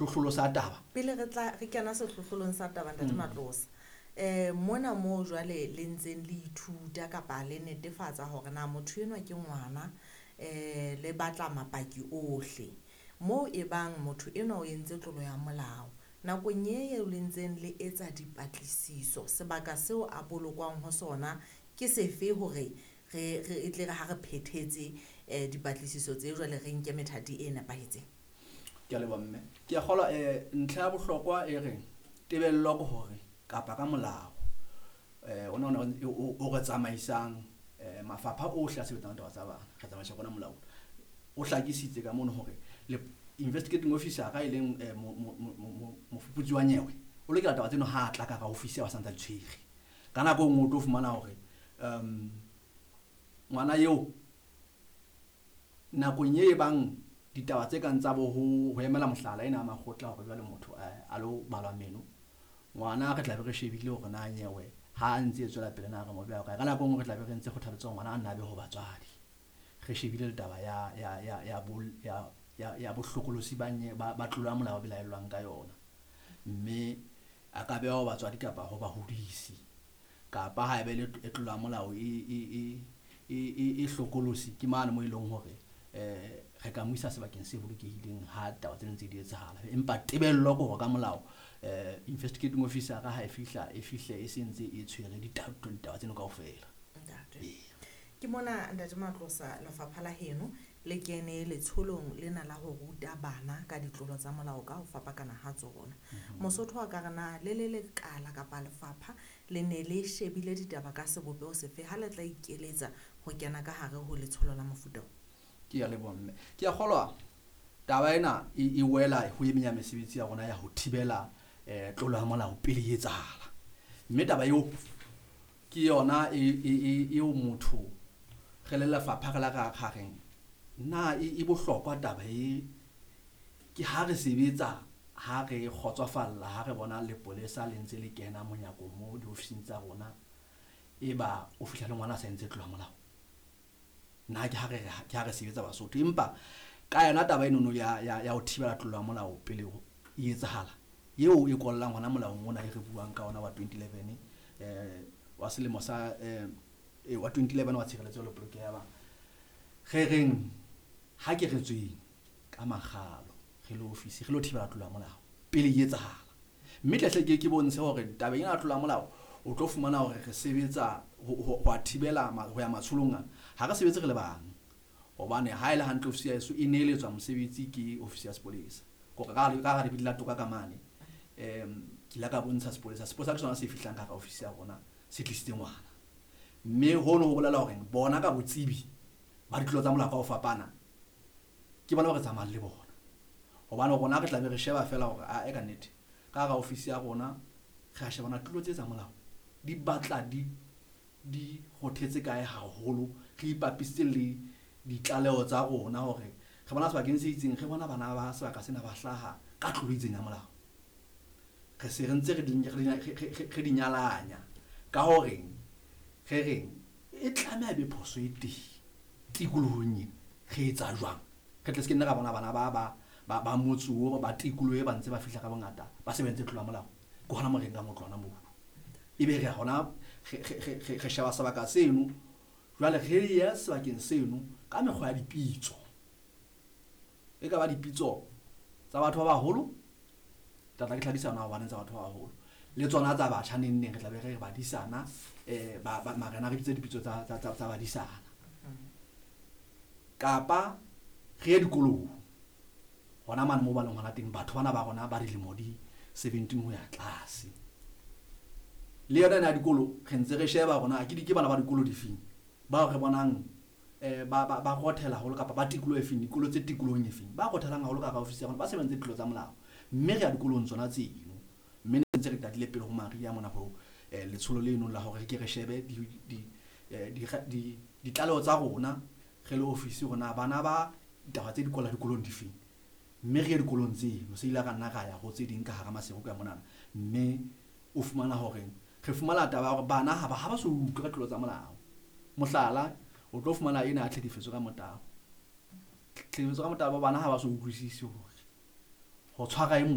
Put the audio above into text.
Sehlohlolo sa taba. Pele re tla re kena sehlohlolong sa taba, Ntate Matlosa, mona moo jwale le ntseng le ithuta kapa le netefatsa hore na motho enwa ke ngwana, le batla mapaki ohle. Moo e bang motho enwa o entse tlolo ya molao. Nakong e eo le ntseng le etsa dipatlisiso, sebaka seo a bolokwang ho sona ke sefe hore re e tle re ha re phethetse dipatlisiso tse jwale re nke methati e nepahetseng? Ke a leboha mme. Ke a kgolwa ntlha ya bohlokwa e reng tebello ke hore kapa ka molao ona o re tsamaisang mafapha ohle a sebetsang taba tsa bana, re tsamaisa kona molao. O hlakisitse ka mono hore le investigating officer ka e leng mofuputsi wa nyewe o lokela taba tseno ha a tla ka hara office ya ba santsa di tshwere. Ka nako e nngwe o tlo fumana hore ngwana eo nakong e bang ditaba tse kang tsa bo ho emela mohlala ena ya makgotla hore jwale motho a lo balwa meno, ngwana re tla be re shebile hore na nyewe ha a ntse e tswela pele na re mo beha kae. Ka nako e nngwe re tla be re ntse kgothaletsa hore ngwana a nna a be ho batswadi, re shebile le taba ya bohlokolosi ba tlolo ya molao belaellwang ka yona, mme a ka beha ho batswadi kapa ho bahodisi, kapa ha ebe le tlolo ya molao e hlokolosi ke mane mo e leng hore re ka mo isa sebakeng se bolokehileng ha taba tsena ntse di etsahala. Empa tebello ke hore ka molao investigating officer ha e fihla e fihle e se ntse e tshwere ditaba tseno kaofela. Ntate. Ke mona Ntate Matlosa, lefapha la heno le kene letsholong lena la ho ruta bana ka ditlolo tsa molao ka ho fapakana ha tsona. Mosotho wa ka re na le le lekala kapa lefapha le ne le shebile ditaba ka sebopeho sefe ha le tla ikeletsa ho kena ka hare ho letsholo la mofuta o? Ke a leboha mme. Ke a kgolwa taba ena e wela ho e meng ya mesebetsi ya rona ya ho thibela tlolo ya molao pele e etsahala. Mme taba eo ke yona eo motho re le lefapha re la ra reng na e bohlokwa taba e, ke ha re sebetsa ha re kgotsofalla ha re bona lepolesa le ntse le kena monyakong mo diofising tsa rona, e ba o fihla le ngwana a sa entse tlolo ya molao. Nna ke ha re ke ha re sebetsa Basotho, empa ka yona taba enono ya ho thibela tlolo ya molao pele e etsahala, eo e kollang hona molaong ona e re buang ka ona wa 2011 wa selemo sa wa 2011 wa tshireletso le polokeho ya bana. Re reng ha ke re tsweng ka makgalo re le ofisi re lo thibela tlolo ya molao pele e etsahala. Mme tle hle ke bontshe hore tabeng ena ya tlolo ya molao o tlo fumana hore re sebetsa ho a thibela ho ya matsholong ana, ha re sebetse re le bang, hobane ha e le hantle ofisi ya heso e neeletswa mosebetsi ke ofisi ya sepolesa. Kore ka hara lebidi la toka ka mane, ke ile ka bontsha sepolesa, sepolesa ke sona se fihlang ka hara ofisi ya rona se tlisitse ngwana. Mme hono ho bolela hore bona ka botsebi ba ditlolo tsa molao ka ho fapana ke bona ba re tsamayang le bona, hobane rona re tla be re sheba fela hore a e ka nnete ka hara ofisi ya rona re a shebana tlolo tse tsa molao di batla di rothetse kae haholo, re ipapisitse le ditlaleho tsa rona hore re bona sebakeng se itseng, re bona bana ba sebaka sena ba hlaha ka tlolo e itseng ya molao, re se re ntse re di nyalanya ka horeng re reng e tlameha be phoso e teng tikolohong ena, re etsa jwang re tle se ke nne ra bona bana ba motse oo ba tikoloho e ba ntse ba fihla ka bongata ba se ba entse tlolo ya molao. Ke hona mo re nkang ho tloha hona mono, ebe re hona re sheba sebaka seno, jwale re ya sebakeng seno ka mekgwa ya dipitso, e ka ba dipitso tsa batho ba baholo, tla tla ke hlakisa hona hobaneng tsa batho ba baholo le tsona tsa batjha neng neng re tla be re re badisana, marena re bitse dipitso tsa badisana, kapa re ye dikolong hona mane moo ba leng hona teng batho bana ba rona ba dilemo di 17 ho ya tlase. Le yona ena ya dikolo re ntse re sheba hore na ke bana ba dikolo difeng bao re bonang ba rothela haholo kapa ba tikoloho e feng, dikolo tse tikolohong e feng ba rothelang haholo ka hara ofisi ya rona ba sebentse ditlolo tsa molao, mme re ya dikolong tsona tseno. Mme ne ntse re qadile pele ho mariha mona ho letsholo leno la hore re ke re shebe ditlaleho tsa rona re le ofisi hore na bana ba ditaba tse di kwala dikolong difeng, mme re ye dikolong tseno. Se ile ra nna ra ya ho tse ding ka hara Maseru ka monana, mme o fumana hore re fumana taba ya hore bana ha ba so utlwe ka tlolo tsa molao. Mohlala, o tlo fumana ena ya tlhekefetso ka motabo, tlhekefetso ka motabo bana ha ba so utlwisise hore ho tshwara e mong